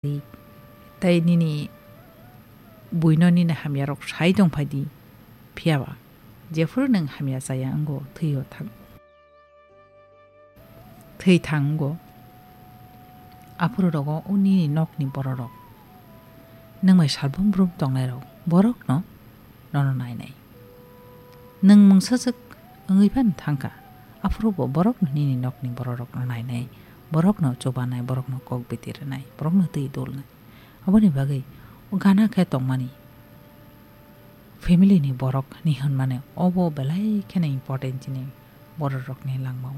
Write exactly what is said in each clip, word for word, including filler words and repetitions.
di. Tai nini buino nini hamyarok sai tongphai di. Phiyaba jephuru nwng hamya chaya wngo, thwio thang-, thwi thang wngo. Aphuru rogo o nini nokni bororok, nwng bai salbrum brum tongnairok, borokno nono nainai. Nwng mungsajwk wngwi phano thangkha, aphuru bo borokno nini nokni bororokno nainai, borokno chubanai, borokno kok biti rwnai, borokno twi dulnai. Aboni bagwi o gana khe tongmani family ni borok ni hwnmani obo belai kheno important chini bororokni langmao.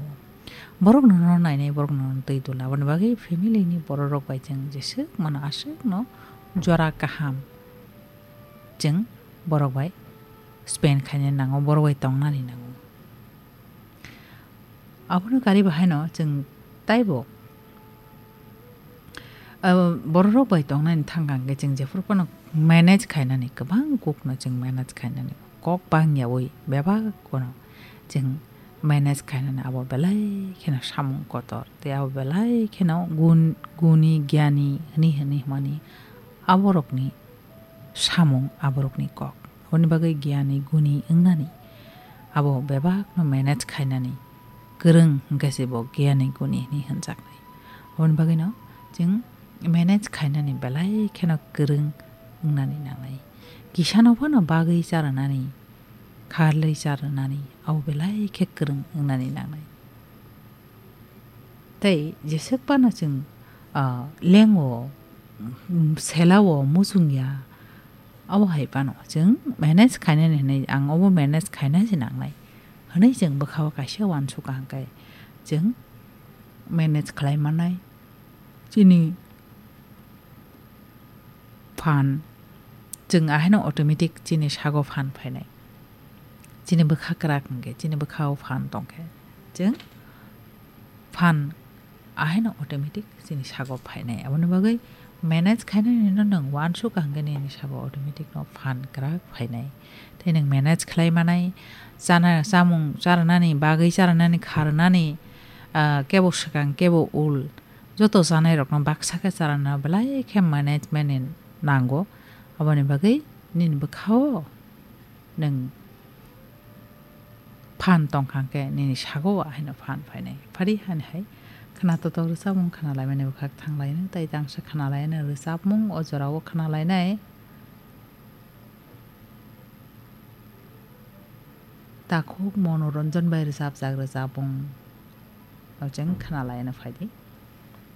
Borokno no nainai, borokno no twi dulnai. Aboni bagwi family ni bororok bai chwng jeswk mano aswkno jora kaham chwng borok bai spend khaina nango, borok bai tongnani nango. Abono kari bahaino chwng taibo, ah, bororok bai tongnani thangkha hwnkhe chwng jephuru phano manage khainani, kwbang kokno chwng manage khainani kok bangyawi bebak kono chwng manage khainani abo belai kheno samung kotor tei abo belai kheno gun-, guni, gyani hwnwi, hwnwi hwnmani aborokni samung, aborokni kok. Aboni bagwi gyani guni wngnani, abo bebakno manage khainani kwrwng hwnkhe se bo gyani guni hwnwi hwnjaknai. Aboni bagwino chwng manage khainani belai kheno kwrwng wngnani nangnai. Kisano phano bagwi charwnani, kharlwi charwnani, abo belai khe kwrwng wngnani nangnai. Tei jeswk phano chwng, ah, lengo, mm, selao muchungya, abo hai phano chwng manage khainani hwnwi, ang obo manage khaina se nangnai hwnwi chwng bwkhao kaisa uansukha hwnkhe chwng manage khlai mannai. Chini phan, chwng ahaino automatic chini sago phan phainai. Chini bwkha kwrak hwnkhe, chini bwkhao phan tongkhe, chwng phan ahaino automatic chini sago phainai. Aboni bagwi manage khainani no nwng uansukha hwnkhe nini sago automatic no phan kwrak phainai. Tei nwng manage khlai manai, chana, chamung charwnani, bagwi charwnani, kharwnani, ah, kebo swkang, kebo ul, joto chanairokno baksa khe charwna belai khe management ni nango. Aboni bagwi nini bwkhao nwng phan tongkha hwnkhe nini sago haino phan phainai. Phari hani hai khwna totok rwchapmung khwna laimani bwkhak thang lainai, tei tangsa khwna lainai rwchapmung o jorao khwna lainai. Takhuk Monoranjan bai rwchapjak rwchapmung o chwng khwna laina phaidi.